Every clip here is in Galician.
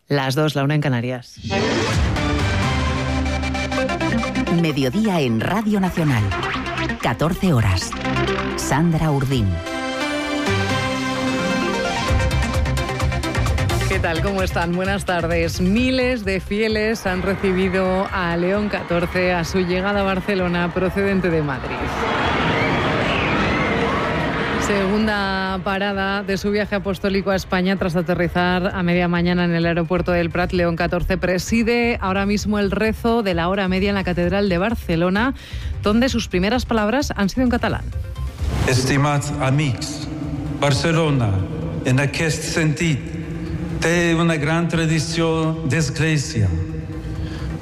Las 2, la 1 en Canarias. Mediodía en Radio Nacional. 14 horas. Sandra Urdín. ¿Qué tal? ¿Cómo están? Buenas tardes. Miles de fieles han recibido a León XIV a su llegada a Barcelona procedente de Madrid. Segunda parada de su viaje apostólico a España tras aterrizar a media mañana en el aeropuerto del Prat. León XIV preside ahora mismo el rezo de la hora media en la Catedral de Barcelona, donde sus primeras palabras han sido en catalán. Estimats amics, Barcelona, en aquest sentit, té una gran tradició d'església.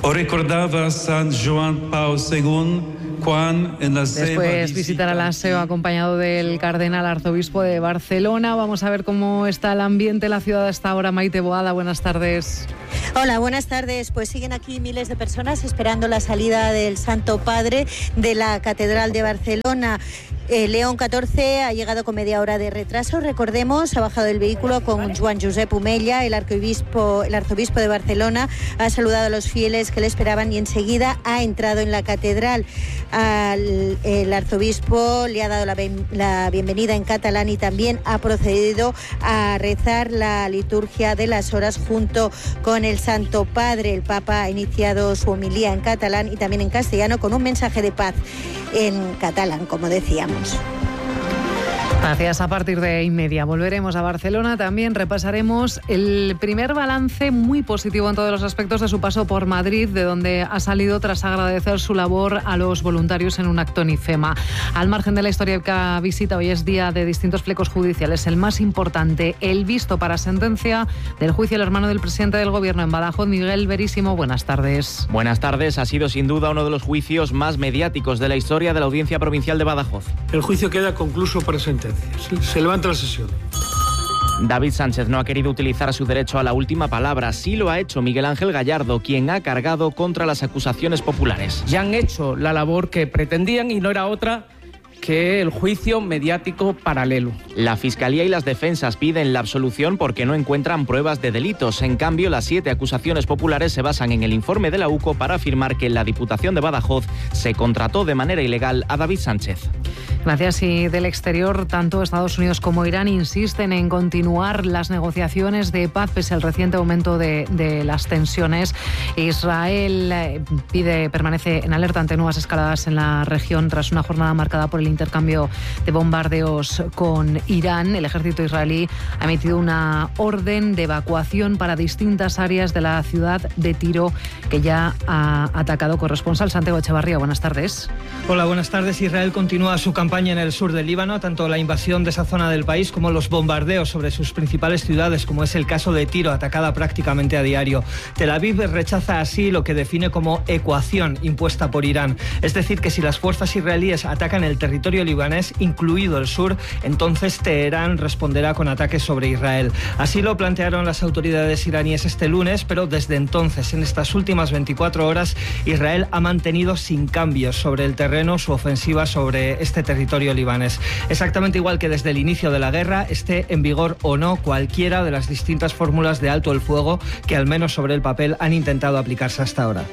Ho recordava Sant Joan Pau II quan en la seva Después visitará la SEO acompañado del cardenal arzobispo de Barcelona. Vamos a ver cómo está el ambiente en la ciudad a esta hora. Maite Boada, buenas tardes. Hola, buenas tardes. Pues siguen aquí miles de personas esperando la salida del Santo Padre de la Catedral de Barcelona. León XIV ha llegado con media hora de retraso. Recordemos, ha bajado del vehículo con Joan Josep Omella, el arzobispo de Barcelona. Ha saludado a los fieles que le esperaban y enseguida ha entrado en la catedral. El arzobispo le ha dado la bienvenida en catalán y también ha procedido a rezar la liturgia de las horas junto con el Santo Padre. El Papa ha iniciado su homilía en catalán y también en castellano con un mensaje de paz en catalán, como decíamos. Gracias. A partir de inmedia volveremos a Barcelona. También repasaremos el primer balance muy positivo en todos los aspectos de su paso por Madrid, de donde ha salido tras agradecer su labor a los voluntarios en un acto en IFEMA. Al margen de la histórica visita, hoy es día de distintos flecos judiciales. El más importante, el visto para sentencia del juicio del hermano del presidente del Gobierno en Badajoz, Miguel Verísimo. Buenas tardes. Buenas tardes. Ha sido sin duda uno de los juicios más mediáticos de la historia de la Audiencia Provincial de Badajoz. El juicio queda concluso por sentencia. Se levanta la sesión. David Sánchez no ha querido utilizar su derecho a la última palabra. Sí lo ha hecho Miguel Ángel Gallardo, quien ha cargado contra las acusaciones populares. Ya han hecho la labor que pretendían y no era otra que el juicio mediático paralelo. La Fiscalía y las defensas piden la absolución porque no encuentran pruebas de delitos. En cambio, las 7 acusaciones populares se basan en el informe de la UCO para afirmar que en la Diputación de Badajoz se contrató de manera ilegal a David Sánchez. Gracias. Y del exterior, tanto Estados Unidos como Irán insisten en continuar las negociaciones de paz pese al reciente aumento de las tensiones. Israel permanece en alerta ante nuevas escaladas en la región tras una jornada marcada por el intercambio de bombardeos con Irán. El ejército israelí ha emitido una orden de evacuación para distintas áreas de la ciudad de Tiro, que ya ha atacado. Corresponsal Santiago Echevarría, buenas tardes. Hola, buenas tardes. Israel continúa su campaña en el sur del Líbano, tanto la invasión de esa zona del país como los bombardeos sobre sus principales ciudades, como es el caso de Tiro, atacada prácticamente a diario. Tel Aviv rechaza así lo que define como ecuación impuesta por Irán. Es decir, que si las fuerzas israelíes atacan el territorio libanés, incluido el sur, entonces Teherán responderá con ataques sobre Israel. Así lo plantearon las autoridades iraníes este lunes, pero desde entonces, en estas últimas 24 horas, Israel ha mantenido sin cambios sobre el terreno su ofensiva sobre este territorio libanés. Exactamente igual que desde el inicio de la guerra, esté en vigor o no cualquiera de las distintas fórmulas de alto el fuego que, al menos sobre el papel, han intentado aplicarse hasta ahora.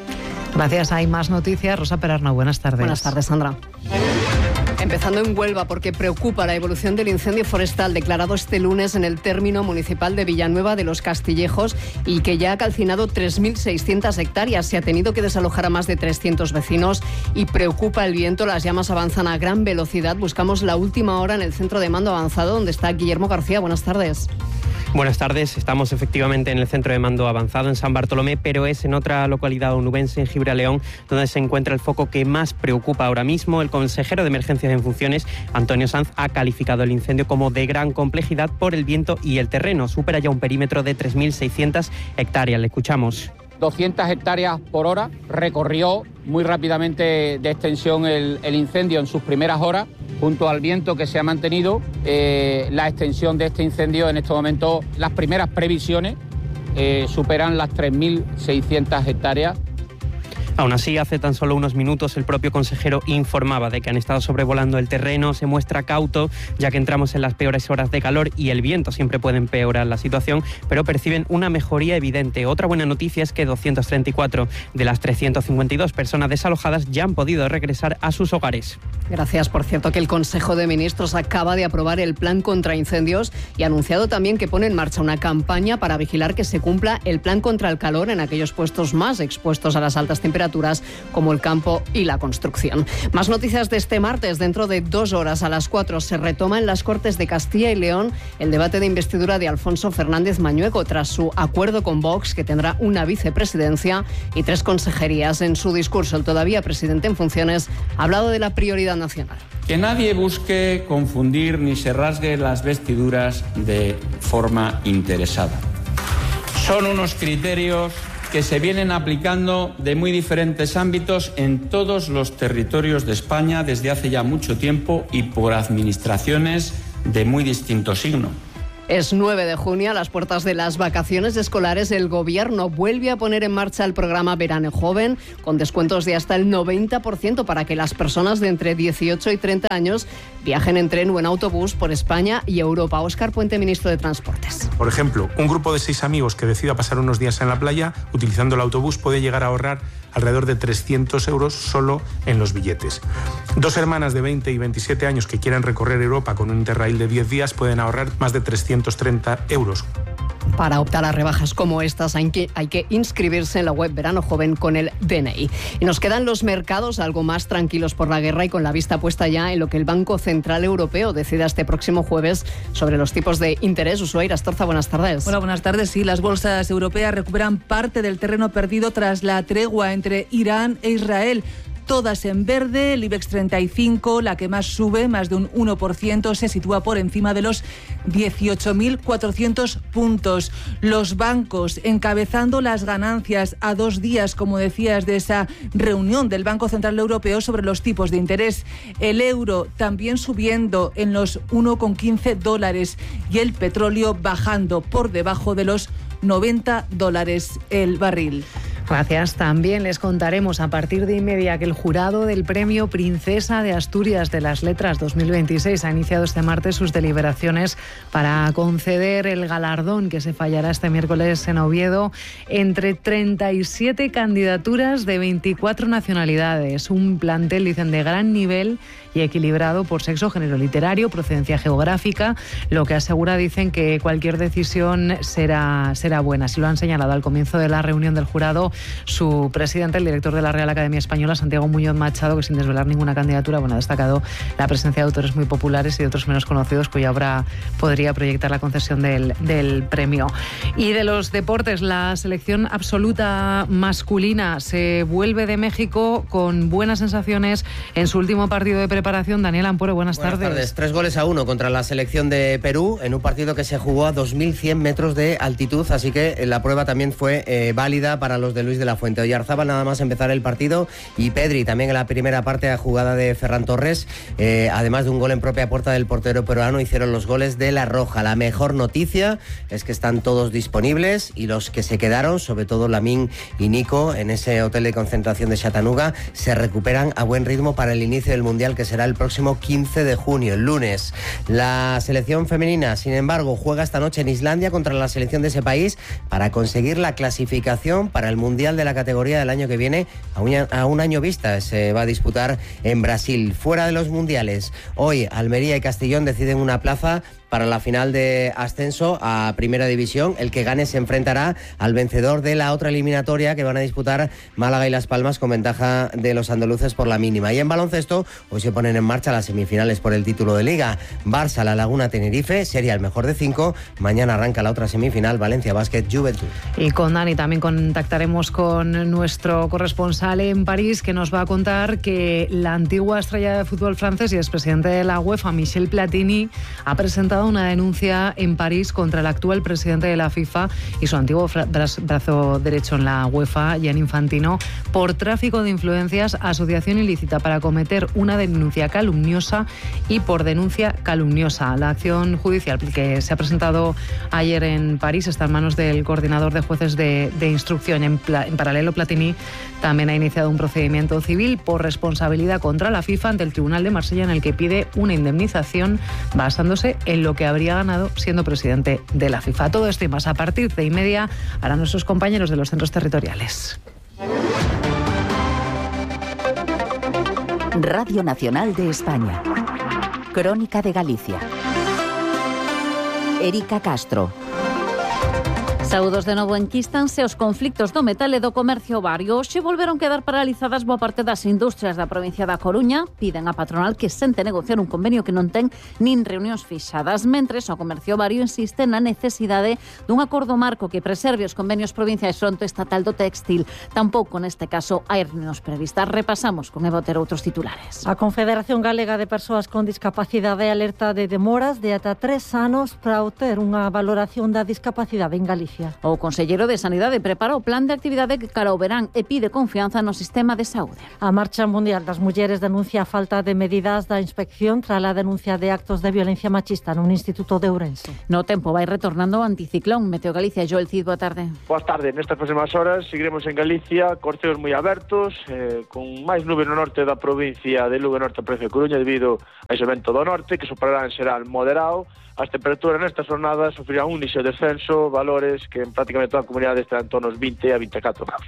Gracias. Hay más noticias. Rosa Perarnau, buenas tardes. Buenas tardes, Sandra. Empezando en Huelva, porque preocupa la evolución del incendio forestal declarado este lunes en el término municipal de Villanueva de los Castillejos y que ya ha calcinado 3.600 hectáreas. Se ha tenido que desalojar a más de 300 vecinos y preocupa el viento. Las llamas avanzan a gran velocidad. Buscamos la última hora en el centro de mando avanzado, donde está Guillermo García. Buenas tardes. Buenas tardes, estamos efectivamente en el centro de mando avanzado en San Bartolomé, pero es en otra localidad onubense, en Gibraleón, donde se encuentra el foco que más preocupa ahora mismo. El consejero de Emergencias en funciones, Antonio Sanz, ha calificado el incendio como de gran complejidad por el viento y el terreno. Supera ya un perímetro de 3.600 hectáreas. Le escuchamos. 200 hectáreas por hora, recorrió muy rápidamente de extensión el incendio en sus primeras horas, junto al viento que se ha mantenido. La extensión de este incendio en este momento, las primeras previsiones superan las 3.600 hectáreas. Aún así, hace tan solo unos minutos el propio consejero informaba de que han estado sobrevolando el terreno, se muestra cauto, ya que entramos en las peores horas de calor y el viento siempre puede empeorar la situación, pero perciben una mejoría evidente. Otra buena noticia es que 234 de las 352 personas desalojadas ya han podido regresar a sus hogares. Gracias. Por cierto, que el Consejo de Ministros acaba de aprobar el plan contra incendios y ha anunciado también que pone en marcha una campaña para vigilar que se cumpla el plan contra el calor en aquellos puestos más expuestos a las altas temperaturas, como el campo y la construcción. Más noticias de este martes. Dentro de 2 horas, a las 4, se retoma en las Cortes de Castilla y León el debate de investidura de Alfonso Fernández Mañueco tras su acuerdo con Vox, que tendrá una vicepresidencia y 3 consejerías. En su discurso, el todavía presidente en funciones ha hablado de la prioridad nacional. Que nadie busque confundir ni se rasgue las vestiduras de forma interesada. Son unos criterios que se vienen aplicando de muy diferentes ámbitos en todos los territorios de España desde hace ya mucho tiempo y por administraciones de muy distinto signo. Es 9 de junio, a las puertas de las vacaciones escolares, el Gobierno vuelve a poner en marcha el programa Verano Joven, con descuentos de hasta el 90% para que las personas de entre 18 y 30 años viajen en tren o en autobús por España y Europa. Óscar Puente, ministro de Transportes. Por ejemplo, un grupo de 6 amigos que decida pasar unos días en la playa, utilizando el autobús, puede llegar a ahorrar alrededor de 300 euros solo en los billetes. 2 hermanas de 20 y 27 años que quieran recorrer Europa con un Interrail de 10 días pueden ahorrar más de 330 euros. Para optar a rebajas como estas hay que inscribirse en la web Verano Joven con el DNI. Y nos quedan los mercados algo más tranquilos por la guerra y con la vista puesta ya en lo que el Banco Central Europeo decida este próximo jueves sobre los tipos de interés. Ushuaia Astorza, buenas tardes. Hola, buenas tardes. Sí, las bolsas europeas recuperan parte del terreno perdido tras la tregua entre Irán e Israel. Todas en verde, el IBEX 35, la que más sube, más de un 1%, se sitúa por encima de los 18.400 puntos. Los bancos encabezando las ganancias a 2 días, como decías, de esa reunión del Banco Central Europeo sobre los tipos de interés. El euro también subiendo en los $1,15 y el petróleo bajando por debajo de los $90 el barril. Gracias. También les contaremos a partir de inmedia que el jurado del Premio Princesa de Asturias de las Letras 2026 ha iniciado este martes sus deliberaciones para conceder el galardón que se fallará este miércoles en Oviedo entre 37 candidaturas de 24 nacionalidades. Un plantel, dicen, de gran nivel y equilibrado por sexo, género literario, procedencia geográfica, lo que asegura, dicen, que cualquier decisión será buena. Así lo han señalado al comienzo de la reunión del jurado su presidente, el director de la Real Academia Española, Santiago Muñoz Machado, que sin desvelar ninguna candidatura, ha destacado la presencia de autores muy populares y de otros menos conocidos cuya obra podría proyectar la concesión del premio. Y de los deportes, la selección absoluta masculina se vuelve de México con buenas sensaciones en su último partido de preparación. Daniel Ampuero, buenas tardes. 3-1 contra la selección de Perú en un partido que se jugó a 2.100 metros de altitud, así que la prueba también fue válida para los de Luis de la Fuente. Oyarzábal nada más empezar el partido y Pedri también en la primera parte a jugada de Ferran Torres, además de un gol en propia puerta del portero peruano, hicieron los goles de La Roja. La mejor noticia es que están todos disponibles y los que se quedaron, sobre todo Lamine y Nico, en ese hotel de concentración de Chattanooga, se recuperan a buen ritmo para el inicio del Mundial, que será el próximo 15 de junio, el lunes. La selección femenina, sin embargo, juega esta noche en Islandia contra la selección de ese país para conseguir la clasificación para el Mundial de la categoría del año que viene a un año vista. Se va a disputar en Brasil. Fuera de los mundiales, hoy Almería y Castellón deciden una plaza para la final de ascenso a Primera División. El que gane se enfrentará al vencedor de la otra eliminatoria que van a disputar Málaga y Las Palmas, con ventaja de los andaluces por la mínima. Y en baloncesto, hoy se ponen en marcha las semifinales por el título de Liga. Barça, La Laguna, Tenerife, sería el mejor de 5. Mañana arranca la otra semifinal, Valencia Basket, Juventud. Y con Dani también contactaremos con nuestro corresponsal en París, que nos va a contar que la antigua estrella de fútbol francés y expresidente de la UEFA, Michel Platini, ha presentado presentado una denuncia en París contra el actual presidente de la FIFA y su antiguo brazo derecho en la UEFA, Gianni Infantino, por tráfico de influencias, asociación ilícita para cometer una denuncia calumniosa y por denuncia calumniosa. La acción judicial que se ha presentado ayer en París está en manos del coordinador de jueces de instrucción. En paralelo, Platini también ha iniciado un procedimiento civil por responsabilidad contra la FIFA ante el Tribunal de Marsella, en el que pide una indemnización basándose en lo que habría ganado siendo presidente de la FIFA. Todo esto y más a partir de 1:30 harán nuestros compañeros de los centros territoriales. Radio Nacional de España. Crónica de Galicia. Erika Castro. Saúdos de novo, enquístanse os conflictos do metal e do comercio vario. Hoxe volveron quedar paralizadas boa parte das industrias da provincia da Coruña. Piden a patronal que sente negociar un convenio que non ten nin reunións fixadas. Mentres, o comercio vario insiste na necesidade dun acordo marco que preserve os convenios provinciais fronte estatal do textil. Tampouco neste caso hai reunións previstas. Repasamos con Eva Otero outros titulares. A Confederación Galega de Persoas con Discapacidade alerta de demoras de ata 3 anos para obter unha valoración da discapacidade en Galicia. O conselleiro de Sanidade prepara o plan de actividade cara ao verán e pide confianza no sistema de saúde. A Marcha Mundial das Mulleres denuncia a falta de medidas da inspección tras a denuncia de actos de violencia machista nun instituto de Ourense. No tempo vai retornando o anticiclón. Meteo Galicia, Joel Cid, boa tarde. Boa tarde. Nestas próximas horas seguiremos en Galicia, con ceos moi abertos, con máis nube no norte da provincia de Lugo, norte da provincia de Coruña, debido a ese vento do norte, que superará en xeral moderado. As temperaturas nestas jornadas sufrirán un lixo descenso, valores que en prácticamente toda a comunidade estarán en torno aos 20 a 24 graus.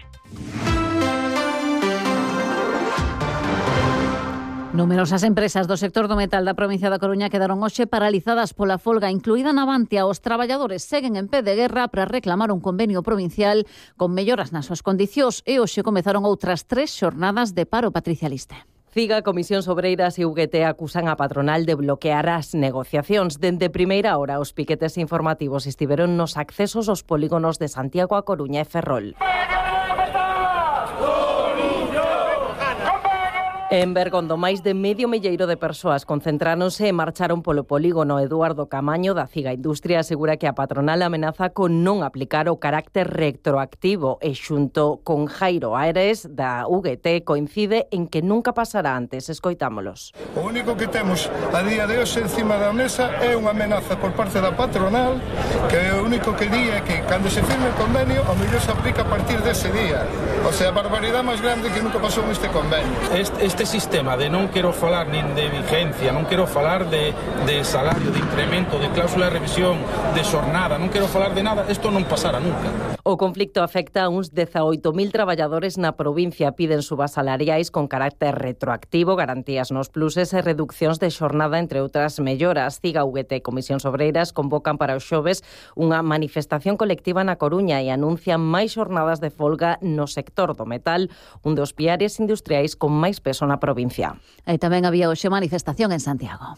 Numerosas empresas do sector do metal da provincia da Coruña quedaron hoxe paralizadas pola folga incluída na Navantia. Os traballadores seguen en pé de guerra para reclamar un convenio provincial con melloras nas súas condicións e hoxe comezaron outras 3 xornadas de paro. Patricia Liste. CIGA, Comisións Obreiras e UGT acusan a patronal de bloquear as negociacións. Dende primeira hora, os piquetes informativos estiveron nos accesos aos polígonos de Santiago, A Coruña e Ferrol. En Bergondo, máis de medio milleiro de persoas concentráronse e marcharon polo polígono. Eduardo Camaño, da CIGA Industria, asegura que a patronal amenaza con non aplicar o carácter retroactivo e xunto con Jairo Aires, da UGT, coincide en que nunca pasará antes. Escoitámolos. O único que temos a día de hoxe encima da mesa é unha amenaza por parte da patronal, que o único que di é que cando se firme o convenio, o mellor se aplica a partir dese día. O sea, a barbaridade máis grande que nunca pasou neste convenio. Este sistema de non quero falar nin de vigencia, non quero falar de salario, de incremento, de cláusula de revisión, de xornada, non quero falar de nada, isto non pasará nunca. O conflicto afecta a uns 18.000 traballadores na provincia. Piden subas salariais con carácter retroactivo, garantías nos pluses e reduccións de xornada, entre outras melloras. CIGA, UGT e Comisións Obreiras convocan para os xoves unha manifestación colectiva na Coruña e anuncian máis xornadas de folga no sector do metal, un dos piares industriais con máis peso na provincia. E tamén había hoxe manifestación en Santiago.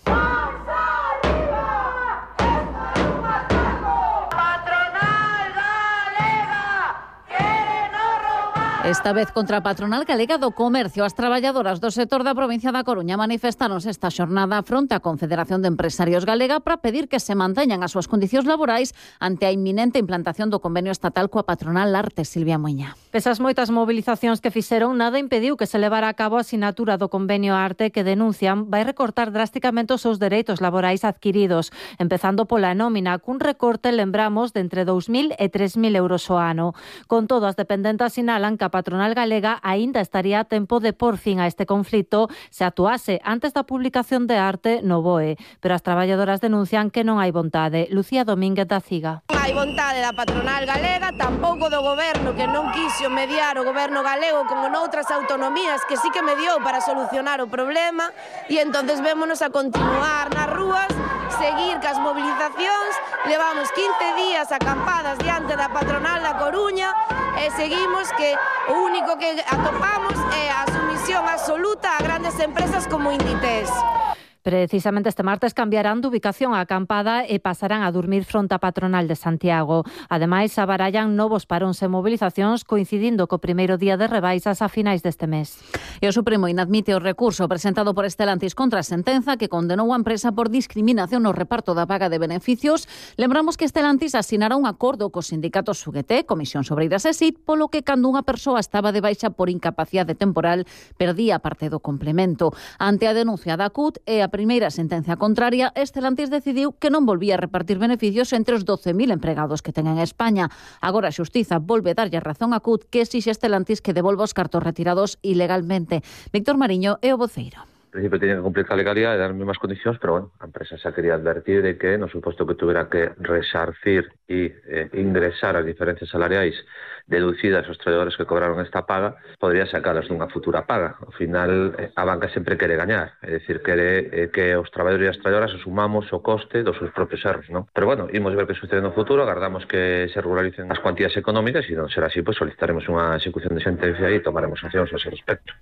Esta vez contra a patronal galega do comercio. As traballadoras do sector da provincia da Coruña manifestaronse esta xornada fronte á Confederación de Empresarios Galega para pedir que se manteñan as súas condicións laborais ante a inminente implantación do convenio estatal coa patronal Arte. Silvia Moiña. Pese as moitas movilizacións que fixeron, nada impediu que se levara a cabo a sinatura do convenio Arte, que denuncian vai recortar drásticamente os seus dereitos laborais adquiridos, empezando pola nómina, cun recorte, lembramos, de entre 2.000 e 3.000 euros ao ano. Con todo, as dependentes sinalan que a patronal galega aínda estaría a tempo de por fin a este conflito se actuase antes da publicación de Arte no BOE, pero as traballadoras denuncian que non hai vontade. Lucía Domínguez, da CIGA. Non hai vontade da patronal galega, tampouco do goberno, que non quixo mediar o goberno galego como noutras autonomías que sí que mediou para solucionar o problema, e entonces vémonos a continuar nas rúas, seguir cas movilizacións. Levamos 15 días acampadas diante da patronal da Coruña e seguimos que o único que atopamos é a sumisión absoluta a grandes empresas como Inditex. Precisamente este martes cambiarán de ubicación a acampada e pasarán a dormir fronte á patronal de Santiago. Ademais, abarallan novos paróns e mobilizacións coincidindo co primeiro día de rebaixas a finais deste mes. E o Supremo inadmite o recurso presentado por Stellantis contra a sentenza que condenou a empresa por discriminación no reparto da paga de beneficios. Lembramos que Stellantis asinará un acordo cos sindicatos UGT, Comisións Obreiras e SIT, polo que cando unha persoa estaba de baixa por incapacidade temporal perdía parte do complemento. Ante a denuncia da CUT e a primeira sentencia contraria, Stellantis decidiu que non volvía a repartir beneficios entre os 12.000 empregados que ten en España. Agora a Xustiza volve darlle razón a CUT que exixe Stellantis que devolva os cartos retirados ilegalmente. Víctor Mariño é o voceiro. En principio tenía que cumplir la legalidad y dar las mismas condiciones, pero bueno, la empresa se quería advertir de que, no supuesto que tuviera que resarcir y ingresar las diferencias salariales deducidas aos traballadores que cobraron esta paga, podría sacalas dunha futura paga. Ao final, a banca sempre quere gañar, é dicir, quere que os traballadores e as traballadoras asumamos o coste dos seus propios erros, non? Pero bueno, imos ver que sucede no futuro, agardamos que se regularicen as cuantías económicas e non será así, pues solicitaremos unha execución de sentencia e tomaremos accións a ese respecto.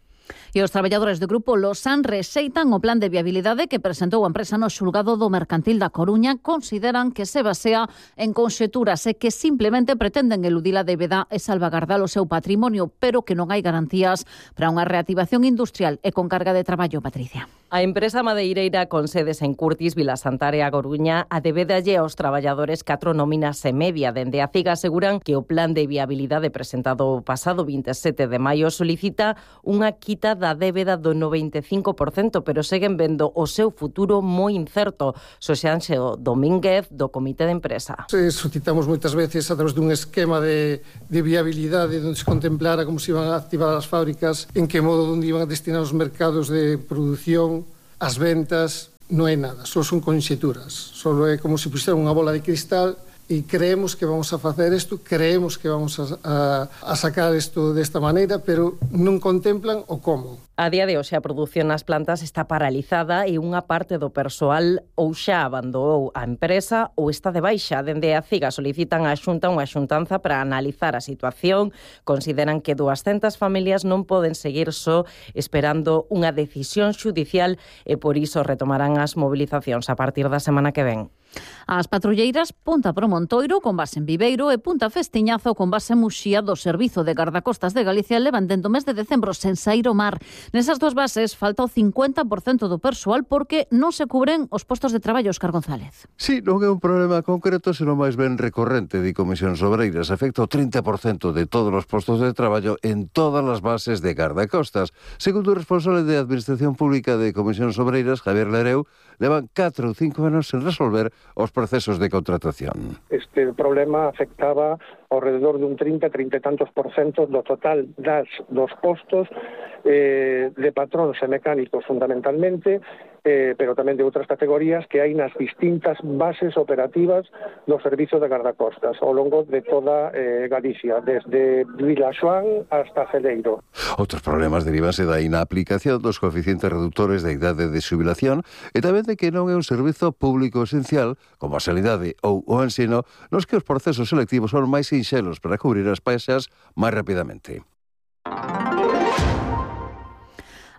E os traballadores do Grupo Losan rexeitan o plan de viabilidade que presentou a empresa no xulgado do Mercantil da Coruña. Consideran que se basea en conxeturas e que simplemente pretenden eludir a débeda e salvagardar o seu patrimonio, pero que non hai garantías para unha reactivación industrial e con carga de traballo, Patricia. A empresa madeireira con sedes en Curtis, Vilasantara e A Coruña adebedalle aos traballadores 4 nóminas e media. Dende a CIG aseguran que o plan de viabilidade presentado o pasado 27 de maio solicita unha quita da débeda do 95%, pero seguen vendo o seu futuro moi incerto. Xoseanxo Domínguez, do Comité de Empresa. Solicitamos moitas veces a través dun esquema de viabilidade onde se contemplara como se iban a activar as fábricas, en que modo onde iban a destinar os mercados de produción, as ventas. Non é nada, só son conxeturas, só é como se puxera unha bola de cristal e creemos que vamos a facer isto, creemos que vamos a sacar isto desta maneira, pero non contemplan o como. A día de hoxe a produción nas plantas está paralizada e unha parte do persoal ou xa abandonou a empresa ou está de baixa. Dende a CIG solicitan á Xunta unha xuntanza para analizar a situación. Consideran que 200 familias non poden seguir só esperando unha decisión xudicial e por iso retomarán as movilizacións a partir da semana que ven. As patrulleiras Punta Promontoiro, con base en Viveiro, e Punta Festiñazo, con base en Muxía, do Servizo de Gardacostas de Galicia, levan dende o mes de decembro sen saír ao mar. Nesas dúas bases falta o 50% do persoal porque non se cubren os postos de traballo, Óscar González. Sí, non é un problema concreto, senón máis ben recorrente, di Comisións Obreiras. Afecta o 30% de todos os postos de traballo en todas as bases de gardacostas. Segundo o responsable de Administración Pública de Comisións Obreiras, Javier Lereu, levan 4 ou 5 anos sen resolver os procesos de contratación. Este problema afectaba ao redor dun 30 e tantos % do total dos postos de patróns e mecánicos fundamentalmente, pero tamén de outras categorías que hai nas distintas bases operativas do Servizo de Gardacostas ao longo de toda Galicia, desde Vilaxoán hasta Celeiro. Outros problemas derivanse da inaplicación dos coeficientes reductores da idade de xubilación e tamén de que non é un servizo público esencial, como a sanidade ou o ensino, nos que os procesos selectivos son máis sinxelos para cubrir as baixas máis rapidamente.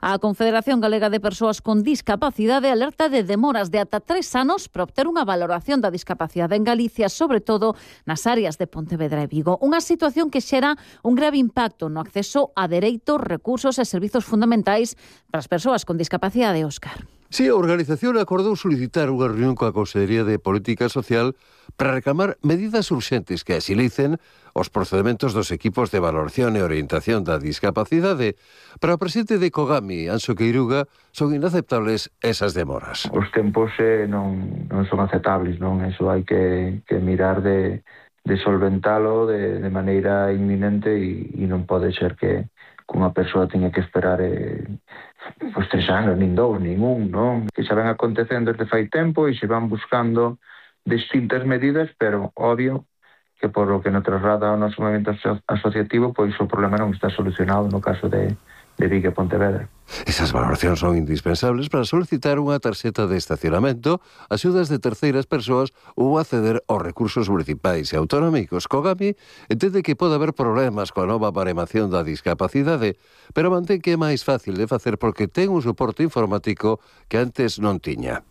A Confederación Galega de Persoas con Discapacidade alerta de demoras de ata 3 anos para obter unha valoración da discapacidade en Galicia, sobre todo nas áreas de Pontevedra e Vigo. Unha situación que xera un grave impacto no acceso a dereitos, recursos e servizos fundamentais para as persoas con discapacidade, Óscar. Sí, a organización acordou solicitar unha reunión coa Consellería de Política Social para reclamar medidas urxentes que axilicen os procedementos dos equipos de valoración e orientación da discapacidade. Para o presidente de Cogami, Anxo Queiruga, son inaceptables esas demoras. Os tempos non son aceptables, non? Eso hai que mirar de solventalo de maneira inminente e non pode ser que unha persoa teña que esperar 3 anos, nin 2, nin 1, non? Que xa ven acontecendo desde fai tempo e se van buscando distintas medidas, pero obvio que por lo que nos traslada o noso movimento asociativo, pois o problema non está solucionado no caso de Vigo e Pontevedra. Esas valoracións son indispensables para solicitar unha tarxeta de estacionamento, axudas de terceiras persoas ou acceder aos recursos municipais e autonómicos. Cogami entende que pode haber problemas coa nova baremación da discapacidade, pero mantén que é máis fácil de facer porque ten un soporte informático que antes non tiña.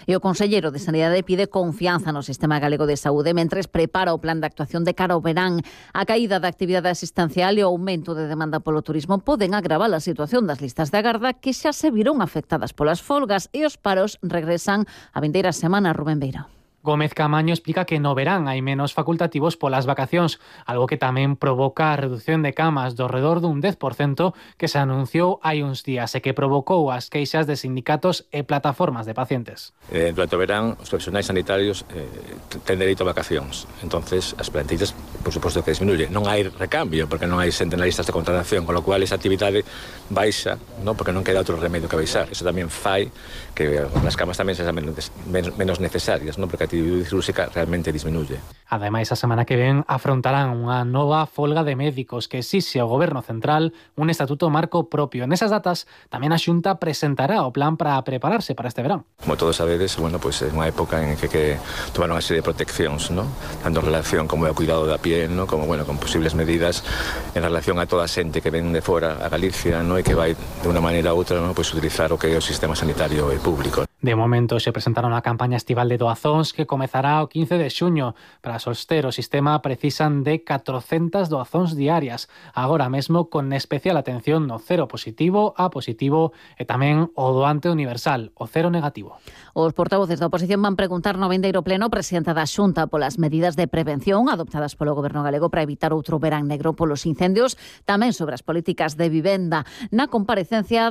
E o conselleiro de Sanidade pide confianza no sistema galego de saúde mentres prepara o plan de actuación de cara ao verán. A caída da actividade asistencial e o aumento de demanda polo turismo poden agravar a situación das listas de agarda que xa se viron afectadas polas folgas e os paros regresan a vindeira semana. Rubén Beira. Gómez Camaño explica que no verán hai menos facultativos polas vacacións, algo que tamén provoca a reducción de camas do redor dun 10% que se anunciou hai uns días e que provocou as queixas de sindicatos e plataformas de pacientes. Durante o verán, os profesionais sanitarios ten dereito a vacacións. Entonces, as plantillas, por suposto que disminuye. Non hai recambio, porque non hai xente na listas de contratación, con lo cual esa actividade baixa, ¿no? Porque non queda outro remedio que baixar. Eso tamén fai que as camas tamén sexan menos necesarias, ¿no? Porque a actividade cirúrxica realmente disminuye. Ademais, a semana que ven afrontarán unha nova folga de médicos que exixe ao Goberno Central un estatuto marco propio. Nesas datas, tamén a Xunta presentará o plan para prepararse para este verán. Como todos sabedes, bueno, pues é unha época en que tomaron unha serie de proteccións, ¿no? Tanto en relación como ao cuidado da piel, ¿no? Como, bueno, con posibles medidas en relación a toda a xente que ven de fora a Galicia, ¿no? E que vai de unha maneira ou outra, ¿no? Pues utilizar o que é o sistema sanitario público. De momento se presentaron a campaña estival de doazóns que comezará o 15 de xuño. Para soster o sistema precisan de 400 doazóns diarias. Agora mesmo con especial atención no cero positivo, A positivo e tamén o doante universal, o cero negativo. Os portavoces da oposición van preguntar no vindeiro pleno presidenta da Xunta polas medidas de prevención adoptadas polo Goberno galego para evitar outro verán negro polos incendios, tamén sobre as políticas de vivenda. Na comparecencia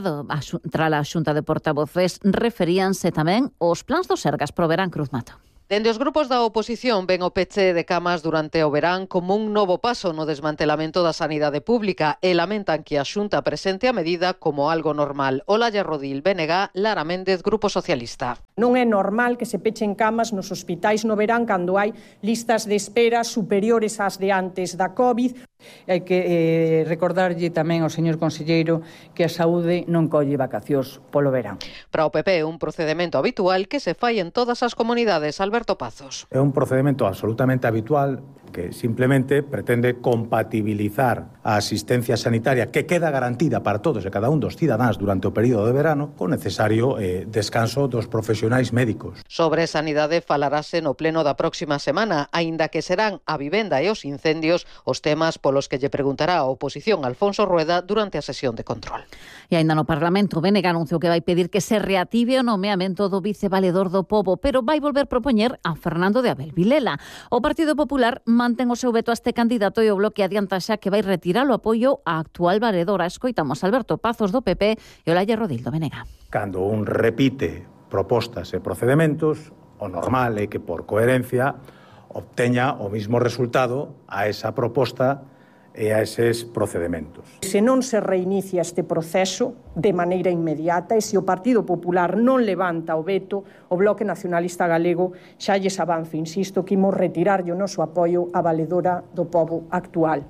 tras a Xunta de Portavoces referíanse tamén os plans do Sergas pro verán. Cruz Mato. Dende os grupos da oposición ven o peche de camas durante o verán como un novo paso no desmantelamento da sanidade pública e lamentan que a Xunta presente a medida como algo normal. Olaya Rodil, BNG, Lara Méndez, Grupo Socialista. Non é normal que se pechen camas nos hospitais no verán cando hai listas de espera superiores ás de antes da COVID. Hai que recordarlle tamén ao señor conselleiro que a saúde non colle vacacións polo verán. Para o PP, un procedemento habitual que se fai en todas as comunidades. Alberto Pazos. É un procedemento absolutamente habitual que simplemente pretende compatibilizar a asistencia sanitaria que queda garantida para todos e cada un dos cidadáns durante o período de verano con necesario descanso dos profesionais médicos. Sobre sanidade falarase no pleno da próxima semana, aínda que serán a vivenda e os incendios os temas polos que lle preguntará a oposición Alfonso Rueda durante a sesión de control. E aínda no Parlamento, BNG anunciou que vai pedir que se reactive o nomeamento do vicevaledor do Pobo, pero vai volver propoñer a Fernando de Abel Vilela. O Partido Popular mantén o seu veto a este candidato e o Bloque adianta xa que vai retirar o apoio á actual valedora. Escoitamos Alberto Pazos do PP e Olaya Rodil do BNG. Cando un repite propostas e procedementos, o normal é que por coherencia obteña o mismo resultado a esa proposta e a eses procedementos. Se non se reinicia este proceso de maneira inmediata e se o Partido Popular non levanta o veto, o Bloque Nacionalista Galego xa lles avanzo, insisto, que imos retirarlle o noso apoio á valedora do Pobo actual.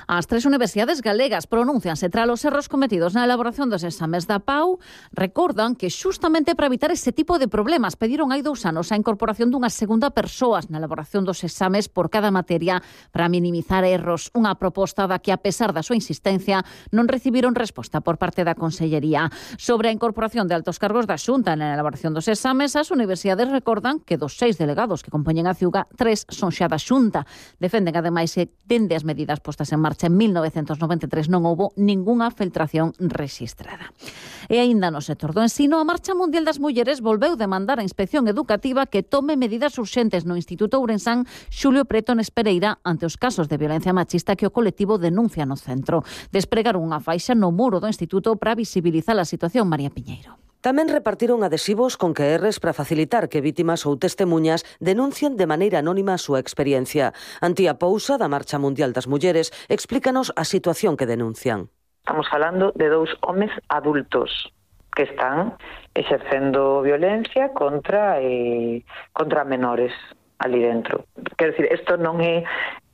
As tres universidades galegas pronúncianse tras os erros cometidos na elaboración dos exames da PAU. Recordan que xustamente para evitar ese tipo de problemas pediron hai 2 anos a incorporación dunha segunda persoas na elaboración dos exames por cada materia para minimizar erros. Unha proposta da que, a pesar da súa insistencia, non recibiron resposta por parte da Consellería. Sobre a incorporación de altos cargos da Xunta na elaboración dos exames, as universidades recordan que dos 6 delegados que compoñen a CIUGA, 3 son xa da Xunta. Defenden, ademais, que dende as medidas postas en marcha en 1993 non houbo ningunha filtración rexistrada. E aínda no sector do ensino, a Marcha Mundial das Mulleres volveu demandar a Inspección Educativa que tome medidas urxentes no Instituto Ourensán Xulio Pretones Pereira ante os casos de violencia machista que o colectivo denuncia no centro. Despregaron unha faixa no muro do instituto para visibilizar a situación. María Piñeiro. Tamén repartiron adhesivos con QRs para facilitar que vítimas ou testemuñas denuncien de maneira anónima a súa experiencia. Antía Pousa, da Marcha Mundial das Mulleres, explícanos a situación que denuncian. Estamos falando de 2 homes adultos que están exercendo violencia contra menores ali dentro. Quero dicir, isto non é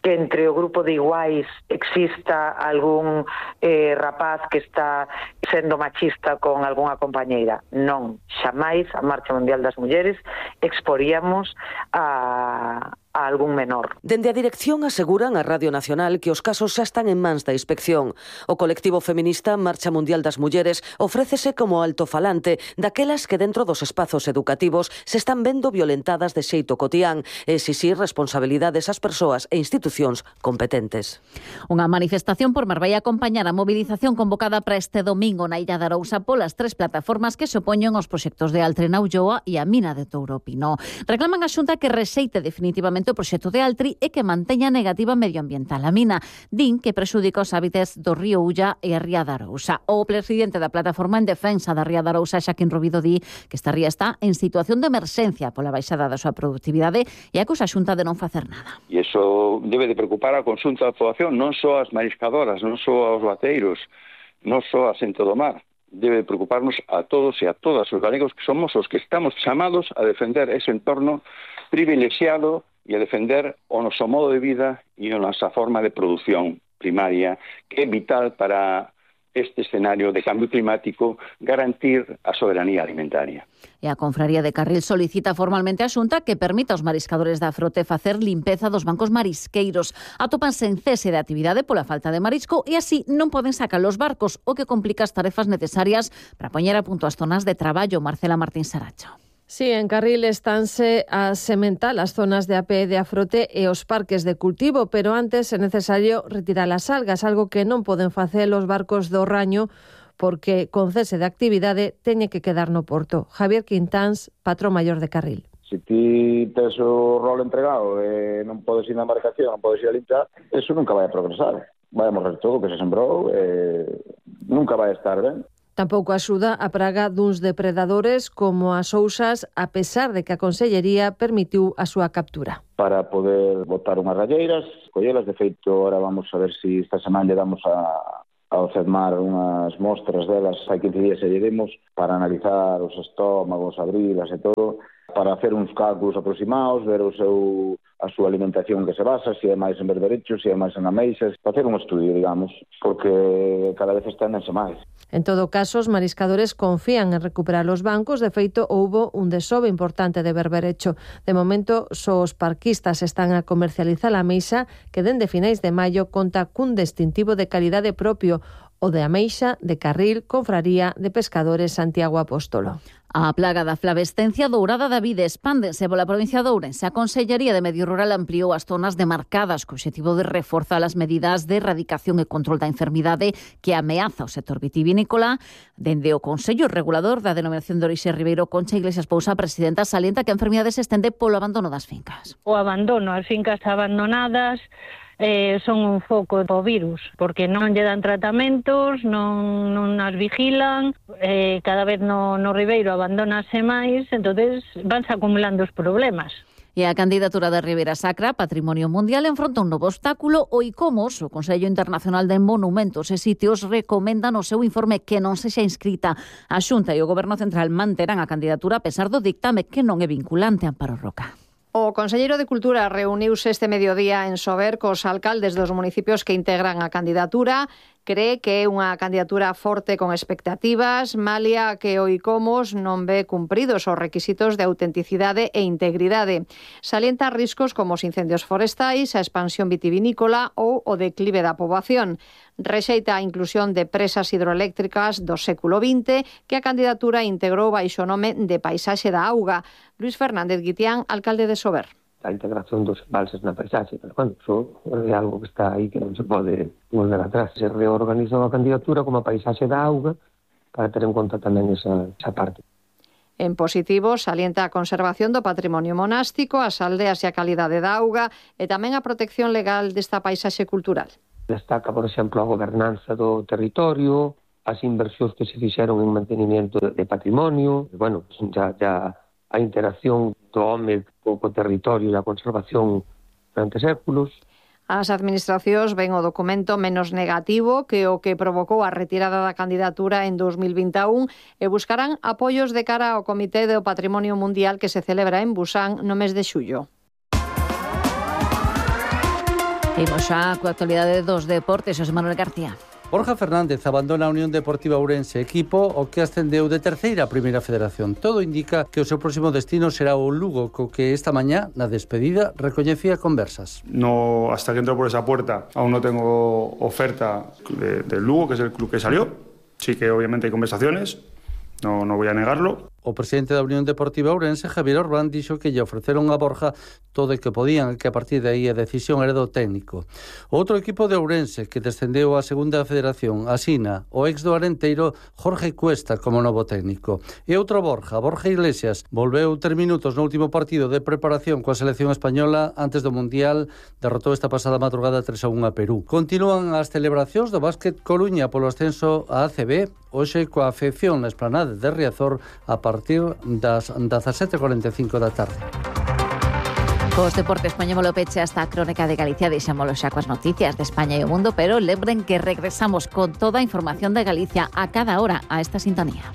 que entre o grupo de iguais exista algún rapaz que está sendo machista con algunha compañeira. Non, xamais a Marcha Mundial das Mulleres exporíamos a algún menor. Dende a dirección aseguran a Radio Nacional que os casos xa están en mans da inspección. O colectivo feminista Marcha Mundial das Mulleres ofrécese como altofalante daquelas que dentro dos espazos educativos se están vendo violentadas de xeito cotián e exixir responsabilidades ás persoas e institucións competentes. Unha manifestación por Mar vai acompañar a movilización convocada para este domingo na Illa de Arousa polas 3 plataformas que se opoñen aos proxectos de Altri na Ulloa e a mina de Touro Pino. Reclaman a Xunta que rexeite definitivamente o proxecto de Altri e que manteña negativa medioambiental a mina. Din que prexudica os hábitats do río Ulla e a ría de Arousa. O presidente da plataforma en defensa da ría de Arousa, Xaquín Rubido, di que esta ría está en situación de emerxencia pola baixada da súa productividade e acusa a Xunta de non facer nada. E iso debe de preocupar a conxunto da poboación, non só as mariscadoras, non só aos bateiros, non só a xente do mar. Debe preocuparnos a todos e a todas os galegos que somos os que estamos chamados a defender ese entorno privilexiado e a defender o noso modo de vida e a nosa forma de produción primaria, que é vital para este escenario de cambio climático, garantir a soberanía alimentaria. E a Confraría de Carril solicita formalmente a Xunta que permita aos mariscadores da frote facer limpeza dos bancos marisqueiros. Atópanse en cese de actividade pola falta de marisco e así non poden sacar os barcos, o que complica as tarefas necesarias para poñer a punto as zonas de traballo. Marcela Martín Saracho. Sí, en Carril estánse a sementar as zonas de APE de afrote e os parques de cultivo, pero antes é necesario retirar as algas, algo que non poden facer os barcos do Raño porque con cese de actividade teñe que quedar no porto. Javier Quintáns, patrón maior de Carril. Se ti tes o rol entregado e non podes ir na embarcación, non podes ir a limpiar, eso nunca vai a progresar. Vai a morrer todo o que se sembrou, nunca vai a estar ben. Tampouco axuda a praga duns depredadores como as ousas, a pesar de que a Consellería permitiu a súa captura. Para poder botar unhas ralleiras, collelas, de feito, ahora vamos a ver se esta semana lle damos ao CEDMAR unhas mostras delas, hai 15 días e lle demos, para analizar os estómagos, abrilas e todo, para hacer uns cálculos aproximados, ver a súa alimentación que se basa, se é máis en berberechos, se é máis en ameixas, para hacer un estudio, digamos, porque cada vez esténdense máis. En todo caso, os mariscadores confían en recuperar os bancos. De feito, houbo un desove importante de berberecho. De momento, só os parquistas están a comercializar a ameixa que dende finais de maio conta cun distintivo de calidade propio, o de ameixa de Carril, Confraría de Pescadores Santiago Apóstolo. A plaga da flavescencia dourada da vide expándese pola provincia de Ourense. A Consellería de Medio Rural ampliou as zonas demarcadas co obxectivo de reforzar as medidas de erradicación e control da enfermidade que ameaza o sector vitivinícola. Dende o Consello Regulador da Denominación de Orixe Ribeiro, Concha Iglesias Pousa, presidenta, salienta que a enfermidade se estende polo abandono das fincas. O abandono, as fincas abandonadas son un foco do virus, porque non lle dan tratamentos, non as vigilan, cada vez no Ribeiro abandonase máis, entonces vanse acumulando os problemas. E a candidatura de Ribeira Sacra, Patrimonio Mundial, enfronta un novo obstáculo. O ICOMOS, o Consello Internacional de Monumentos e Sitios, recomenda no seu informe que non sexa inscrita. A Xunta e o Goberno Central manterán a candidatura a pesar do dictame que non é vinculante. Amparo Roca. O conselleiro de Cultura reuniuse este mediodía en Sober cos alcaldes dos municipios que integran a candidatura. Cree que é unha candidatura forte con expectativas, malia que o ICOMOS non ve cumpridos os requisitos de autenticidade e integridade. Salienta riscos como os incendios forestais, a expansión vitivinícola ou o declive da poboación. Rexeita a inclusión de presas hidroeléctricas do século XX que a candidatura integrou baixo o nome de Paisaxe da Auga. Luis Fernández Guitián, alcalde de Sober. A integración dos embalses na paisaxe, pero bueno, iso é algo que está aí que non se pode volver atrás. Se reorganizou a candidatura como a Paisaxe da Auga para ter en conta tamén esa parte. En positivo, salienta a conservación do patrimonio monástico, as aldeas e a calidade da auga e tamén a protección legal desta paisaxe cultural. Destaca, por exemplo, a gobernanza do territorio, as inversións que se fixeron en mantenimiento de patrimonio, bueno, ya a interacción do home co territorio e a conservación durante séculos. As administracións ven o documento menos negativo que o que provocou a retirada da candidatura en 2021 e buscarán apoios de cara ao Comité do Patrimonio Mundial que se celebra en Busan no mes de xullo. Imos xa coa actualidade dos deportes, José Manuel García. Borja Fernández abandona a Unión Deportiva Ourense, equipo o que ascendeu de terceira a primeira federación. Todo indica que o seu próximo destino será o Lugo, co que esta mañá, na despedida, recoñecía conversas. No, hasta que entro por esa puerta, aún no tengo oferta del Lugo, que es el club que salió. Sí que obviamente hay conversaciones, no voy a negarlo. O presidente da Unión Deportiva Ourense, Javier Orbán, dixo que lle ofreceron a Borja todo o que podían, que a partir de aí a decisión era do técnico. Outro equipo de Ourense que descendeu á segunda federación, asina o ex do Arenteiro, Jorge Cuesta, como novo técnico. E outro Borja Iglesias, volveu 3 minutos no último partido de preparación coa selección española antes do Mundial, derrotou esta pasada madrugada 3-1 a Perú. Continúan as celebracións do básquet Coruña polo ascenso a ACB, hoxe coa afección na esplanada de Riazor a partir das 17:45 da tarde. Cos deportes poñémolo peche hasta a crónica de Galicia, deixámolo xa coas noticias de España e o mundo, pero lembren que regresamos con toda a información de Galicia a cada hora a esta sintonía.